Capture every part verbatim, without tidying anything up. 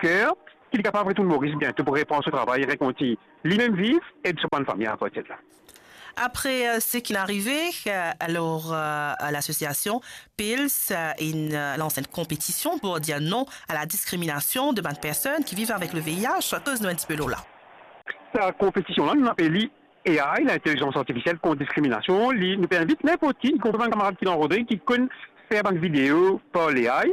ker ki li kapav retourn Moris biento pou repran so travay, rekontign limem viv, ed so bann fami apartir de la. Apre, euh, seki inn arive, euh, alor, euh, lasosiasion PILS, euh, inn, euh, lans enn konpetision pou dir non a la diskriminasion de bann personn ki viv avek le V I H. Koz nou enn tipe lor la. Sa konpetision la, nou apel li A I, lintelizans artifisiel kont diskriminasion. Li, nou pe invit ninport ki, ikonpri bann kamarad ki dan Rodrig, ki konn fer bann video par A I,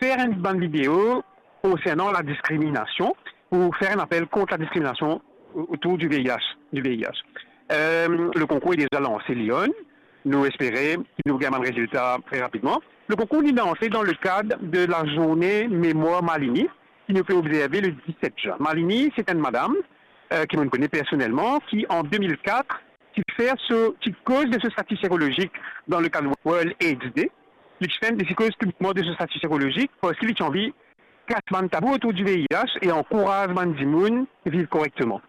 fer enn bann video konsernan la diskriminasion, pou fer enn apel kont la diskriminasion o-, otour du V I H, du V I H. Euh, le konkour est déjà lansé, Lyon. Nou espere ki nou gagn bann rezilta tre rapidman. Le konkour li lanse dan le kad de la zourne memwar Malini, ki nou pe obzerve le diset zin. Malini, se enn madam, euh, ki mo kone personelman, ki an de mil kat, ti fer so, ti koz de so stati serolozik dan le kad World AIDS Day. Li ti fer, li ti koz piblikman de so stati serolozik, parski li ti anvi kas bann tabou otour du V I H e ankouraz bann dimoun viv korekteman.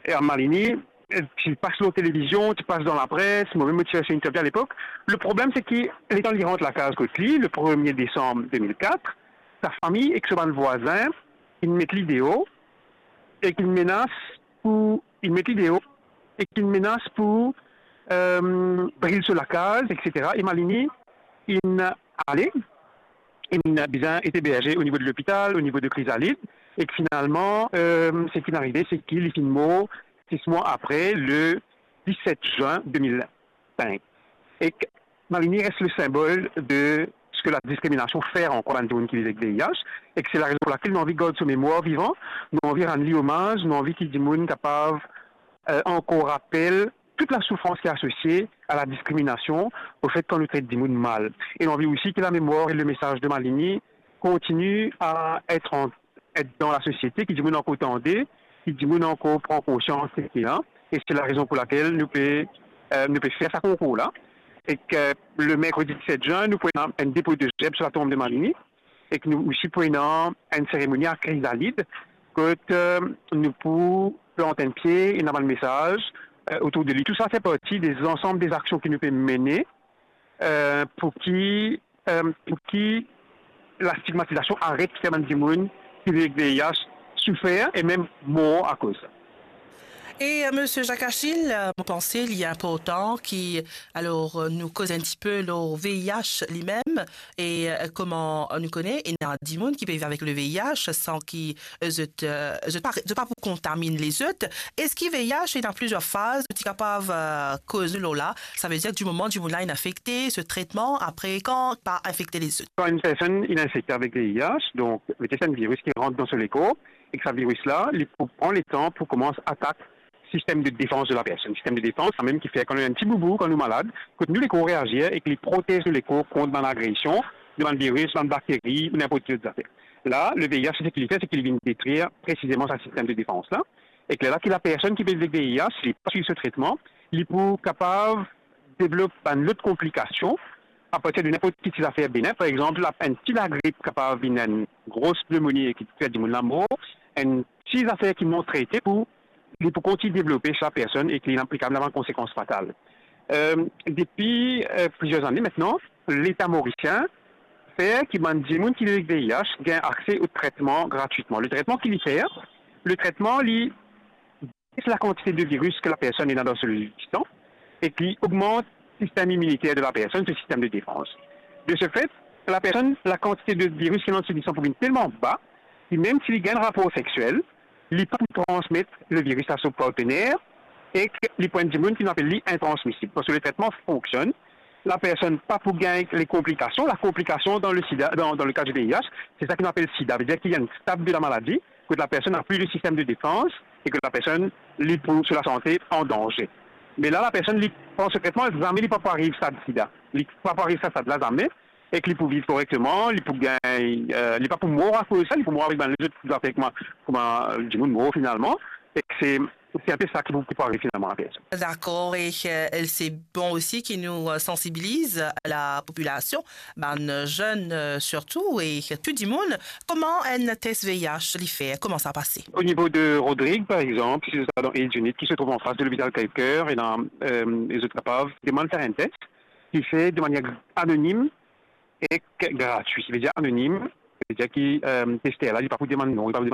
E Malini, eh, ti pas lor televizion, ti pas dan lapres, mo mem mo ti fer so interview alepok. Le problem, se ki letan li rant lakaz kot li, le premie desam de mil kat, sa fami ek so bann vwazin, inn met li deor, ek inn menas pou, inn met li deor, ek inn menas pou, euh, bril so lakaz, et cetera. E Malini inn ale, inn bizin et eberze o nivo de lopital, o nivo de Krizalid, ek finalman, euh, seki inn arive, se ki li finn mor sis mwa apre, le diset zin de mil sink. Ek Malini res le sinbol de seki la diskriminasion fer ankor bann dimoun ki viv ek V I H, ek se la rezon pou lakel nou anvi gard so memwar vivan, nou anvi rann li omaz, nou anvi ki dimoun kapav, euh, ankor rapel tout la soufrans ki asosie a la diskriminasion, o fet kan nou tret dimoun mal. E nou anvi osi ki la memwar e le mesaz de Malini kontigne a et an, et dan lasosiete, ki dimoun ankor tande, ki dimoun ankor pran konsians de seki la. E se la rezon pou lakel nou pe, euh, nou pe fer sa konkour la. Ek le merkredi diset zin, nou pou ena enn depo de zerb sou latonm de Malini. Ek nou osi pou ena enn seremoni a Krizalid, kot, euh, nou pou plant enn pie, ena bann mesaz, euh, otour de li. Tou sa fer parti de lansam de aksion ki nou pe mene, euh, pou ki, euh, pou ki la stigmatizasion aret ki fer bann dimoun ki viv ek V I H soufer e mem mor akoz sa. E, euh, Misie Jacques Achille, euh, mo panse li inportan ki, alor, euh, nou koz enn tipe lor V I H limem, e, euh, kouma nou kone, ena dimoun ki pe viv avek le V I H san ki, euh, zot, euh, zot pa, zot pa pou kontaminn lezot. Eski V I H ena plizier faz, ti kapav, euh, koz nou lor la? Savedir, di moman dimoun la inn infekte, so tretman, apre kan pa infekte lezot. Kan enn personn inn infekte avek V I H, donk, se enn viris ki rant dan so lekor, ek sa viris la, li pou pran letan pou koumans atak sistem de defans de la personn. Sistem de defans, samem ki fer kan nou ena enn ti boubou, kan nou malad, kot nou lekor reazir ek li protez nou lekor kont bann agresion de bann viris, bann bakteri, ou ninport ki lot zafer. La, le V I H, seki li fer, seki li vinn detrir presizeman sa sistem de defans la. Ek lerla ki la personn ki pe viv ek V I H, si li pa swiv so tretman, li pou kapav devlop bann lot konplikasion apartir de ninport ki ti zafer benen. Par exanp, la, enn ti lagrip kapav vinn enn gro pneumonie e ki fer dimoun la mor, enn ti zafer ki non trete pou, li pou kontign devlope sa personn e ki li kapav ena bann konsekans fatal. Euh, depi, euh, plizier ane aster, Leta morisien fer ki bann dimoun ki viv ek V I H gagn akse o tretman gratwitman. Le tretman ki li fer, le tretman li bes lakantite de viris ki la personn ena dan so lisan e ki ogmant sistem iminiter de la personn, so sistem de defans. De se fet, la personn, lakantite de viris ki ena dan so lisan pou vinn telman ba, ki mem si li gagn rapor seksiel, li pa pou transmet le viris a so partener, ek li pou enn dimoun ki nou apel li intransmisib. Parski le tretman fonksionn, la personn pa pou gagn le konplikasion. La konplikasion dan le sida, dan, dan le ka di V I H, se sa ki nou apel sida, vedir ki ena enn stad de la maladi, kot la personn ena pli le sistem de defans e kot la personn, li pou, so lasante an danze. Me la, la personn, li pran so tretman, zame li pa pou ariv stad sida. Li pa pou ariv sa stad la, zame. Ek li pou viv korekteman, li pou gagn, euh, li pa pou mor akoz sa, li pou mor avek bann lezot zafer kouma, kouma dimoun mor finalman. Ek se, se inpe sa ki pou, ki pou ariv finalman a la personn. Dakor, e, euh, se bon osi ki nou, euh, sansibiliz la popilasion, bann zenn, euh, sirtou, e tou dimoun. Kouma enn tes V I H li fer? Kouma sa pase? O nivo de Rodrig, par exanp, si zot al dan Health Unit ki se trouv anfas de lopital Crèvecoeur, ena, euh, zot kapav demann fer enn tes ki fet de manier anonim ek gratwi. Vedir anonim, vedir ki, euh, tester la, li pa pou demann non, li pa pou